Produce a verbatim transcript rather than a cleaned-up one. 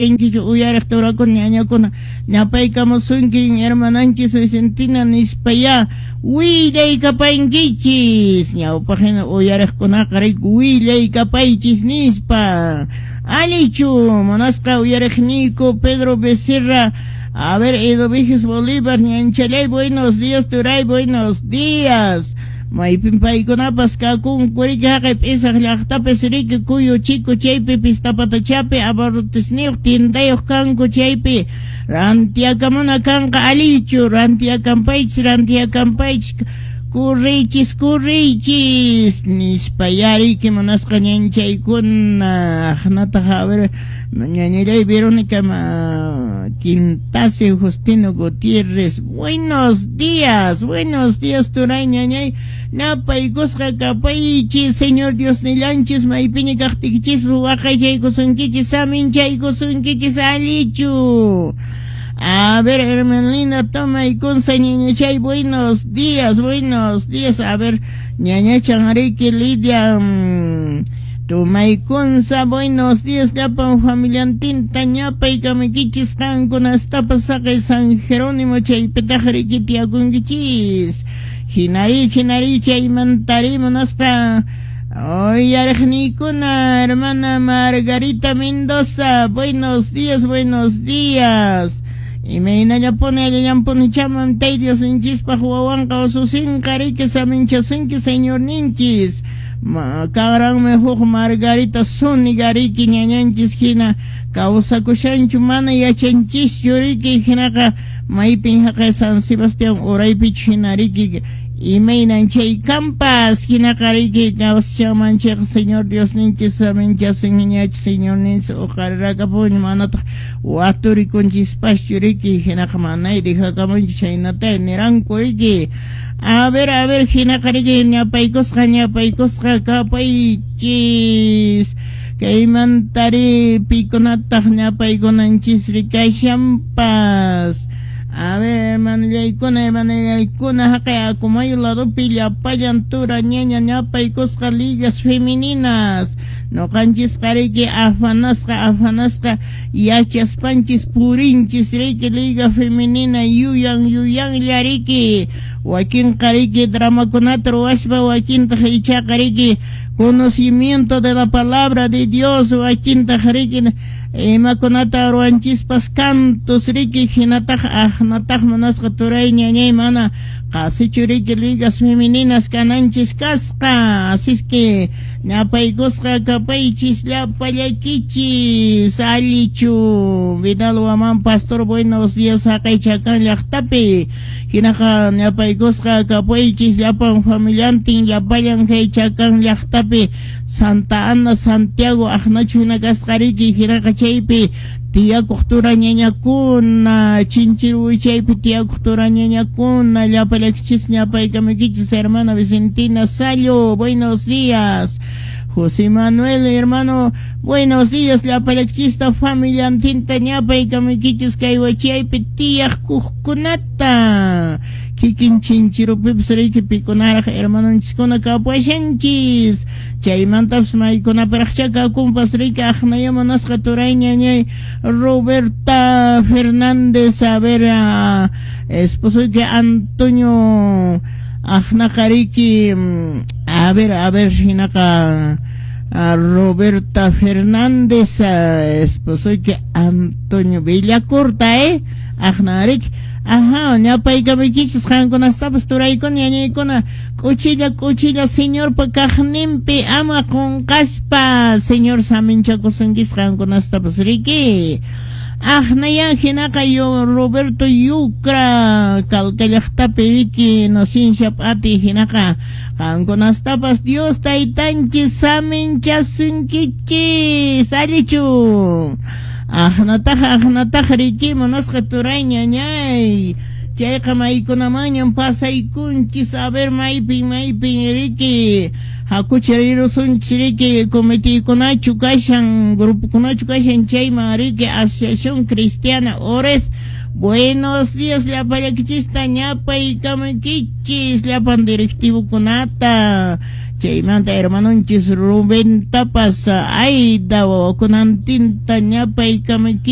Inkichu uyariq turakuna ñañakuna ñapaykamusunkin hermananchis Vicentina nispa ya willaykapankichis ñawpaqhina uyariqkunaqa riki willaykapaychis nispa. Allichu munasqa uyariqniyku Pedro Becerra. A ver, Eduviges Bolívar, ñanchalay, buenos días, turay, buenos días. Maypin paykunapas kakunku riki haqay p'isaq llaqtapis riki kuyu chiku chaypi pistapatachapi abarrotesniyuq tiendayuq kanku chaypi rantiakamuna kanqa. Allichu, rantiakanpaychis, rantiakanpaychis, kurriychis, kurriychis nispa yariki munasqa ñanchaykuna. Aqnataq, a ver, ñañallay Verónica Quintase, Justino Gutiérrez, buenos días, buenos días, turay, ñañay, napaykusqa kapaychis. Señor Dios nillanchis maypiña kaqtiykichispas waqaychaykusunkichis, saminchaykusunkichis. Allichu. A ver, Hermelina, toma y consa, ñañachay, buenos días, buenos días. A ver, ñañachan riki Lidia, mmm, Tumaykunsa, buenos días, llapan familiantinta ñapaykamaykichis qankunastapas saqay San Jerónimo chaypitaq riki tiyakunkichis. Hinari, hinari, chaymantari munasqa uyariqniykuna, hermana Margarita Mendoza, buenos días, buenos días. Imaynallapuni, allillampuni chaman tay Diosninchispaq wawanqa ususinqa riki saminchasunki Señorninchis. Kanranmi huk Margarita Zúñiga riki ñañanchis hina kawsakushanchu mana yachanchischu riki hinaqa maypin haqay San Sebastián uraypichu hina riki imaynan chay kampas hinaqa riki kawsashanman chayqa Señor Diosninchis saminchasunñachu Señorninchis uqarirakapuña manataq waturikunchispachu riki hinaqa manay dejakamunchu chaynata niranku riki. A ver, a ver, hinaqa riki ñapaykusqa, ñapaykusqa kapaychis. Kaymantari pikunataq ñapaykunanchis rikashanpas. A ver, hermanollaykuna, hermanallaykuna, haqay Acomayo ladopi llapallan tura ñaña ñapaykusqa ligas femeninas. Noqanchisqa riki afanasqa, afanasqa yachaspanchis purinchis riki liga femenina yuyan yuyanlla riki. Wakinqa riki dramakunata ruwaspa, wakintaq ichaqa riki conocimiento de la palabra de Dios, wakintaq riki imakunata ruwanchispas cantos riki hinataq aqnataq munasqa turay ñañay mana qasichu riki ligas femeninas kananchis kasqa. Así es que ñapaykusqa kapaychis llapallaykichis. Allichu Vidal Waman pastor, buenos días haqay Chakan llaqtapi hinaqa ñapaykusqa kapaychis llapan familiantin llapallan kay Chakan llaqtapi Santa Ana Santiago aqnachu hina kasqa riki hinaqa chaypi tiyakuq tura ñañakuna Chinchiru chaypi tiyakuq tura ñañakuna llapallaykichis ñapaykamaykichis. Hermana Vicentina Sallo, buenos días. José Manuel, hermano, buenos días, llapallaykichista familiantinta ñapaykamaykichis kay wachaypi tiyaqkuqkunata kikin Chinchirupipis riki pikunaraq hermanonchiskuna kapuashanchis chaymantapas maykunaparaqcha kakunpas riki aqnaya munasqa turay ñañay Roberta Fernández, a ver, esposoyki Antonio aqnaqa riki, a ver, a ver, hinaqa Roberta Fernández, esposoyki Antonio Villacorta, eh aqna riki. Ajá, ñapaykamaykichis qankunastapas turaykuna ñañaykuna k'uchilla k'uchilla Señorpa kaqninpi ama qunqaspa Señor saminchakusunkichis qankunastapas riki. Aqnaya hinaqa yo Roberto Yucra Calca llaqtapi riki Inocencia p'ati hinaqa qankunastapas Dios taytanchis saminchasunkichis. Allichu. Aqnataq, aqnataq riki munasqa turay ñañay chayqa maykunamanñan pasaykunchis. A ver, maypin, maypin riki Hakuchi rirusunchis riki comitekunachu kashan, grupokunachu kashan chayman riki Asociación Cristiana Ored. Buenos días llapallakichista ñapaykamaykichis llapan directivokunata. Chaymanta hermanonchis Rubén tapas Aida wawakunantinta ñapaykamaykichis.